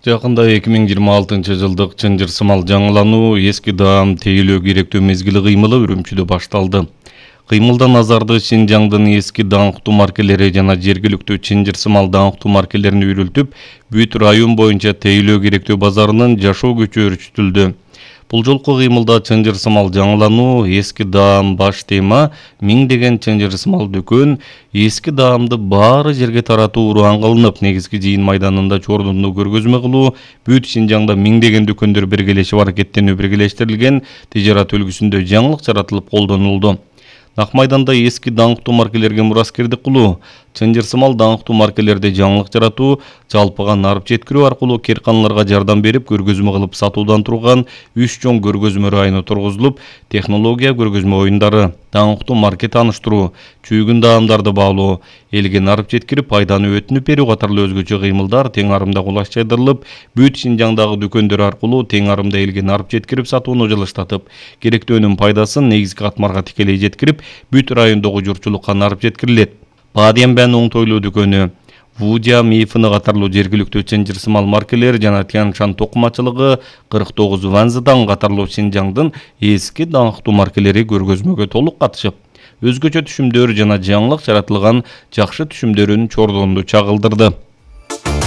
Жакында 2026-жылдык чынжыр-сымал жаңылануу эски даам тейлөө керектүү мезгили кыймылы Үрүмчүдө башталды. Кыймылда назарды Шинжаңдын эски даңктуу маркелери жана жергиликтүү чынжыр-сымал даңктуу маркелерин үйрүлтүп, бүт район боюнча тейлөө керектүү базарынын жашоо күчү өрчүтүлдү. Бул жолку кыймылда чынжыр-сымал жаңылануу, эски даам баш тема, миңдеген чынжыр-сымал дүкөн, эски даамды баары жерге таратуу ураан кылынып, негизги жыйын майданында чордунду көргөзмө кылуу, бүт Шинжаңда миңдеген дүкөндөр биргелешип аракеттенүү биргелештирилген тижарат үлгүсүндө жаңылык жаратылып колдонулду. Нак майданда эски даңктуу маркелерге мураскердик кылуу, чынжыр-сымал даңктуу маркелерде жаңылык жаратуу, жалпыга нарып жеткирүү аркылуу керканаларга жардам берип, көргөзмө кылып сатуудан турган 3 чоң көргөзмө району тургузулуп, технология көргөзмө оюндары, даңктуу марке тааныштыруу, чүйгүн даамдарды баалоо, элге нарып жеткирип, пайданы өтүнүп берүү катарлуу өзгөчө кыймылдар тең арымда кулачтырылып, бүт Шинжаңдагы дүкөндөр аркылуу тең арымда элге нарып жеткирип сатууну жылыштатып, керектүү өнүм пайдасын негизги катмарга тикелей жеткирип, бүт райондогу журтчулукка нарып жеткирилет. Бадиенбен оңтойлуу дүкөнү, Вудя, Мифыны катарлуу жергиликтүү чынжыр-сымал маркелер жана Тяншан токумачылыгы, 49 Ванзыдан катарлуу Шинжаңдын эски даңктуу маркелери көргөзмөгө толук катышып, өзгөчө түшүмдөр жана жаңылык жаратылган жакшы түшүмдөрүн чордонду чагылдырды.